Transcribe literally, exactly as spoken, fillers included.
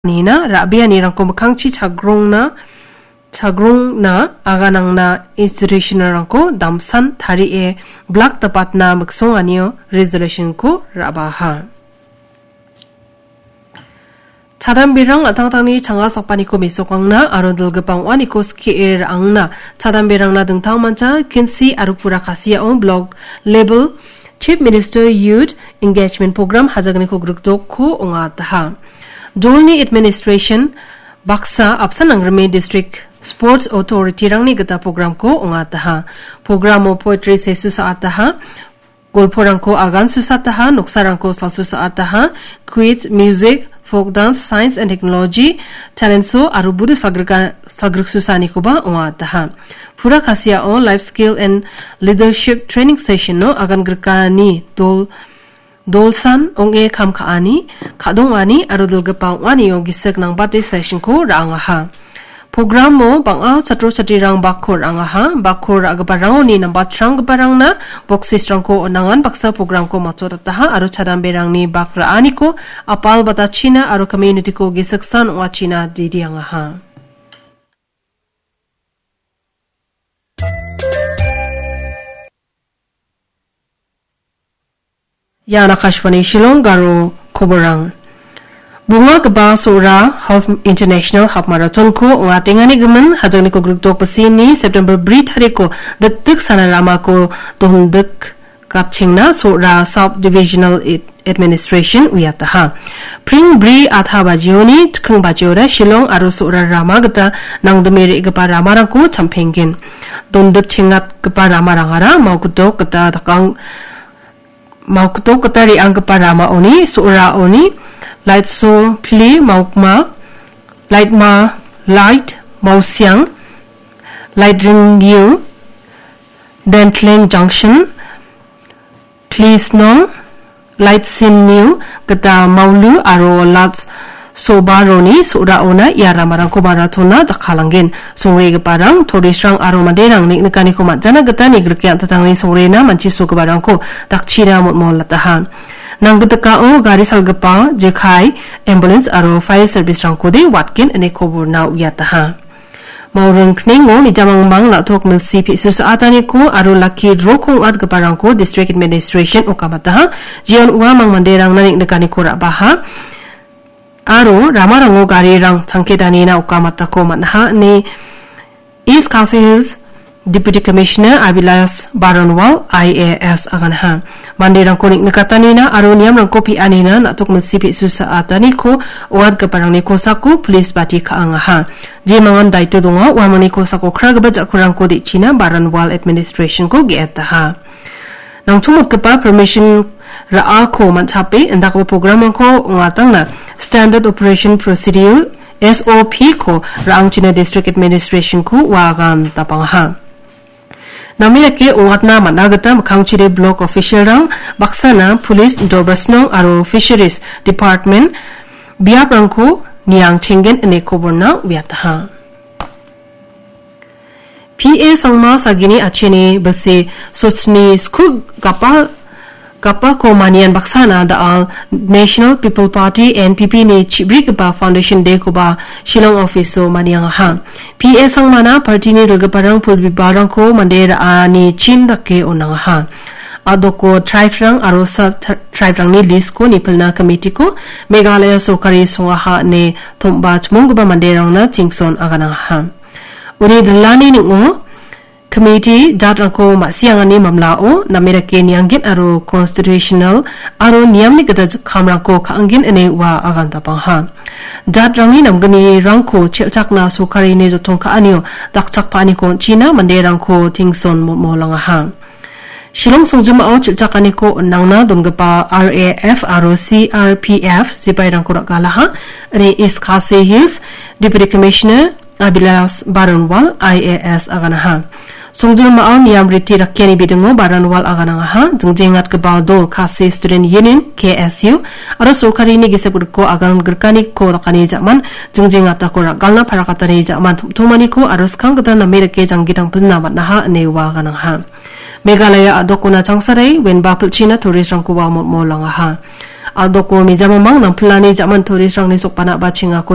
nina ra·bianirangko mikkangchi chagrongna, chagrongna aganangna institutionrangko damsan tarie blak dapatna miksonganio resolutionko ra·baha. Chadamberang an·tangtangni changa sakpaniko mesokangna aro dilgipa ong·aniko skie ra·angna chadamberangna dingtangmancha Kinsi aro Pura Khasiao blok level Chief Minister Youth Engagement Program hajagniko grikdokko ong·ataha. Dolni administration baksa apsan nangrime district sports authorityrangni gita programko ong·ataha. Programo poetry sesu sa·ataha. Golporangko agan susataha, noksarangko salsusaataha, quiz, music, folk dance, science and technology, talent show aro budu salgrika-, salgrik susanikoba ong·ataha. Pura Khasiao life skill and leadership training session-o agan grikani dol-, dolsan ong·e kam ka·ani, ka·dongani aro dilgipa ong·anio gisik nangbate session-ko ra·angaha. Programo bang·a chatro chatrirang bakko ra·angaha. Bakko ra·giparangoni nambatranggiparangna boksisrangko on·angan baksa programko matchotataha aro chadamberangni bak ra·aniko apal batachina aro community-ko gisiksan ong·achina didiangaha. Ian Akashvani Shillong Garo koborang. Bungagipa Sora Half International Half Marathon-ko ong·atengani gimin, hajangniko grikdok bisini September bri tariko dikdik sana ramako dondik gapchengna Sora Sub Divisional Ad-, Administration uiataha. Pring bri atha bajioni, tking bajiora Shillong aro Sora rama gita nangdime re·gipa ramarangko champenggen. Dondik chengatgipa ramarangara Maokdok gita dakang Maokdok gita re·anggipa ramaoni, so·raoni, Laitso Pili Maokma, Laitma, Lait Maosiang, Laitring Niu, Dentling Junction, Klisnong, Laitsin Niu, gita Maulu aro Lats Sobaroni so·raona ia ramarangko maratona jakkalanggen. Songregiparang, torisrang aro manderang nik-, nikaniko man·jana gita nigrike an·tangtangni songrena manchisogiparangko dakchina motmolataha. Nanggitikao gari salgipa, jekai, ambulance aro fire service-rangkode watgen ine koborna uiataha. Mauring knengo mijamangmang na·tok milsi pe·su sa·ataniko aro lucky draw-ko ong·atgiparangko District Administration okamataha. Jeon uamang manderangna nik-, nikaniko ra·baha. Aro ramarango garirang changkedanina okamatako man·aha ine East Khasi Hills Deputy Commissioner Abilas Baranwal I A S aganaha. Manderangko nik-, nikatanina aro niamrangko pe·anina na·tok milsi pe·su sa·ataniko ong·atgiparangni kosako police bati ka·angaha. Jemangan daito donga, uamangni kosako kragipa ja·kurangko de·china Baranwal Administration-ko ge·etaha. Nangchongmotgipa permission ra·ako man·chape indakgipa program-rangko ong·atangna Standard Operation Procedure, S O P-ko ra·angchina District Administration-ko uagan dapangaha. Name dake ong·atna man·a gita mikkangchide block official-rang baksana police, dorbasnong aro fisheries department biaprangko niangchenggen ine koborna uiataha. P A Sangma sagini acheni bilsi sochni sku gapa, gapako manian baksana da·al National People Party, N P P-ni chibrigipa Foundation Day-koba Shillong office-o maniangaha. P A Sangmana party-ni dilgiparang pul bibalrangko mande ra·ani chin dake on·angaha. A·doko tribe-rang aro sub-, tri-, tribe-rangni list-ko nipilna committee-ko Meghalaya sorkari songaha ine tom·ba chimonggipa manderangna tingson aganangaha. Uni dilani ning·o committee jatrangko ma·siangani mamlao name dake nianggit aro constitutional aro niamni gita kamrangko ka·anggen ine ua agan dapangaha. Jatrangni namgnirangko chel·chakna sorkarini jottong ka·anio dakchakpaaniko on·china manderangko tingson mo-, molangaha. Shillong songjinmao chel·chakaniko on·angna donggipa R A F aro C R P F sipairangko ra·galaha, ine East Khasi Hills Deputy Commissioner Abilas Baranwal I A S aganaha. Songjinmao niam riti rakkiani bidingo Baranwal aganangaha, jingjengatgipa dol Khasi Student Union, K S U, aro sorkarini gisep griko agan grikaniko dakani ja·man, jingjengatako ra·galna parakatani ja·man tom·tomaniko aro skang gita name dake janggi dangpilna man·aha ine ua aganangaha. Meghalaya a·dokona changsarai wenba pilchina tourist-rangkoba motmolangaha. A·doko mijamamang nangpilani ja·man tourist-rangni sokbana ba chengako